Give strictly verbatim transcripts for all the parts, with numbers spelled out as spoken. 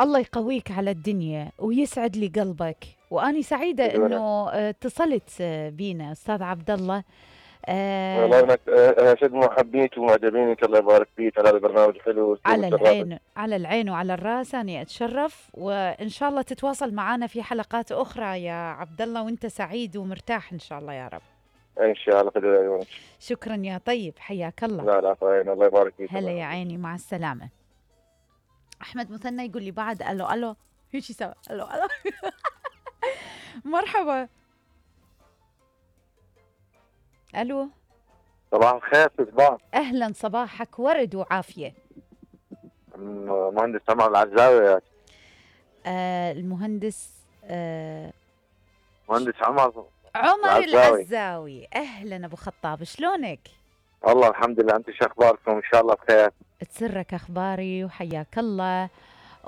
الله يقويك على الدنيا ويسعد لي قلبك، وأني سعيدة إنه آه، اتصلت آه، بينا أستاذ عبد الله. والله آه انك آه، شد محبيك ومعجبينك، الله يبارك فيك على هذا البرنامج الحلو واسلوب على الشرافه. العين على العين وعلى الراس، أنا أتشرف، وإن شاء الله تتواصل معنا في حلقات أخرى يا عبد الله، وأنت سعيد ومرتاح إن شاء الله يا رب. ان شاء الله خير عيونك. شكرا يا طيب، حياك الله. لا لا عفوا، الله يبارك فيك. هلا يا عيني، مع السلامة. أحمد مثنى يقول لي بعد ألو ألو هيك سوا ألو ألو مرحبا. ألو، صباح الخير صباح. أهلا، صباحك ورد وعافية. مهندس عمر العزاوي. آه المهندس آه مهندس عمر عمر العزاوي. العزاوي. أهلا أبو خطاب، شلونك؟ والله الحمد لله، أنت شو أخباركم؟ إن شاء الله بخير. تسرك أخباري وحياك الله.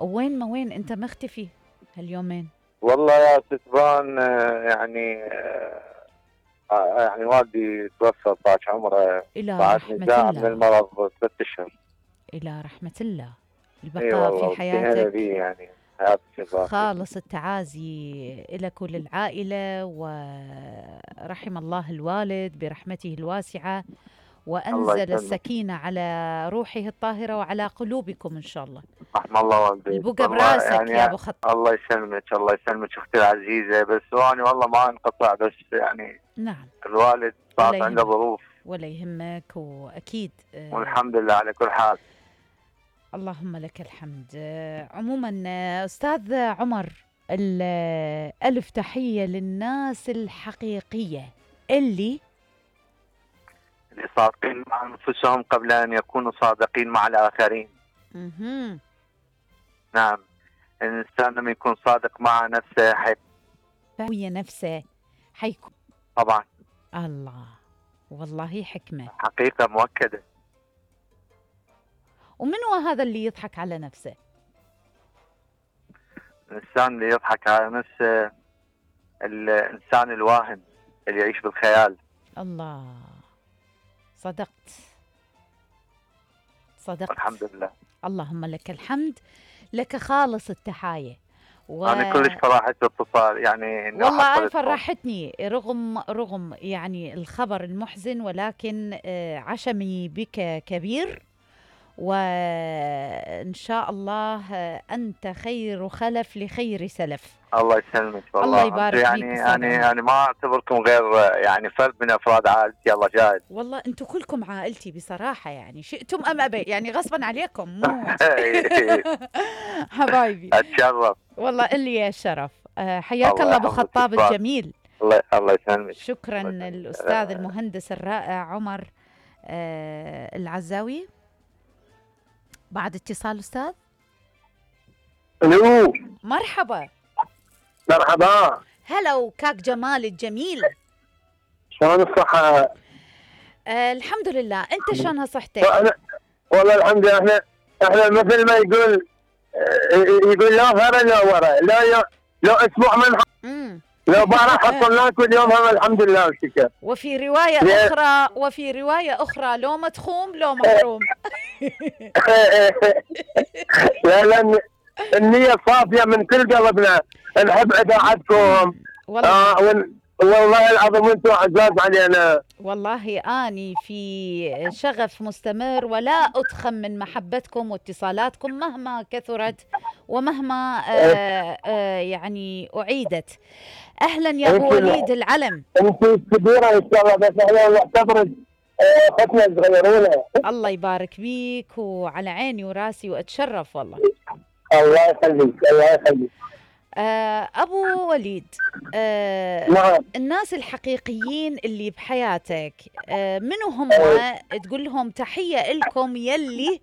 وين ما وين أنت مختفي هاليومين؟ والله يا ستبان يعني آه يعني والدي توفى طاش عمره إلى بعد رحمة نزاع من الله. المرض ست اشهر. إلى رحمة الله، اي البقاء والله في حياتك. دي يعني حياة الشباب. خالص التعازي لك وللعائلة، ورحم الله الوالد برحمته الواسعة، وأنزل السكينة على روحه الطاهرة وعلى قلوبكم إن شاء الله. رحم الله والديك. البقى براسك يعني يا أبو خطاب. الله يسلمك، الله يسلمك أختي العزيزة. بس أنا والله ما انقطع، بس يعني نعم الوالد صارت عنده ظروف. ولا يهمك، وأكيد آه والحمد لله على كل حال. اللهم لك الحمد. آه عموما آه أستاذ عمر، ألف تحية للناس الحقيقية اللي اللي صادقين مع أنفسهم قبل أن يكونوا صادقين مع الآخرين. مهم. نعم، الإنسان لما يكون صادق مع نفسه حي... هي نفسه حيكون. طبعا. الله، والله حكمة، حقيقة مؤكدة. ومن هو هذا اللي يضحك على نفسه؟ الإنسان اللي يضحك على نفسه الإنسان الواهم اللي يعيش بالخيال. الله، صدقت صدقت الحمد لله. اللهم لك الحمد، لك خالص التحاية. و... أنا كلش فرحت باتصال يعني. والله أنا فرحتني رغم رغم يعني الخبر المحزن، ولكن عشمي بك كبير، وإن شاء الله أنت خير خلف لخير سلف. الله يسلمك والله. الله يبارك يعني فيك. يعني يعني ما اعتبركم غير يعني فرد من افراد عائلتي. الله جاهد. والله انتم كلكم عائلتي بصراحه، يعني شئتم ام ابيت، يعني غصبا عليكم مو حبايبي. اتشرف والله اللي الشرف. حياك الله ابو خطاب الجميل. الله الله يسلمك. شكرا الاستاذ المهندس الرائع عمر آه العزاوي. بعد اتصال استاذ. الو، مرحبا. مرحبا. هلا وكاك جمال الجميل، شلون الصحة؟ آه الحمد لله، انت شلونها صحتك؟ والله الحمد لله. احنا احنا مثل ما يقول يقول لا ورا لا ورا لا لو اسبوع من امم لو بارح حصلناك، واليوم هم الحمد لله والشكر. وفي رواية أخرى وفي رواية أخرى لو متخوم لو محروم. لا لا، النية صافية من كل قلبنا، نحب إذاعتكم. والله آه والله العظيم انتم عزاز علينا. والله اني في شغف مستمر، ولا اتخم من محبتكم واتصالاتكم مهما كثرت ومهما آآ آآ يعني اعيدت. اهلا يا ابو وليد العلم. انت كبيره ان شاء الله، بس احنا نعتبرك اختنا صغيرونه. الله يبارك بيك، وعلى عيني وراسي، واتشرف والله. الله يخليك الله يخليك. آه أبو وليد، آه نعم. الناس الحقيقيين اللي بحياتك آه منو هم؟ تقول لهم تحية لكم يلي.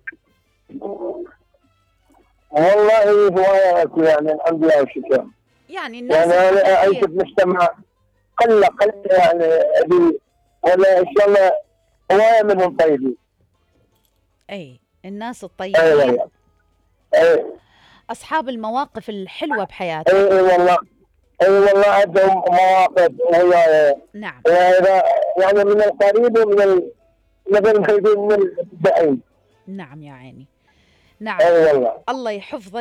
والله هوايات يعني الحمد لله والشكر. يعني الناس يعني أنا أعيش بمجتمع قلة قلة يعني أبي، ولا إن شاء الله هواية منهم طيبين. أي الناس الطيبين. أي أي أصحاب المواقف الحلوة بحياتك. اي اي والله اي والله عندهم مواقف هي. نعم. يعني من القريب ومن مثل ما يقول من البعيد. نعم يا عيني. نعم. اي والله. الله يحفظك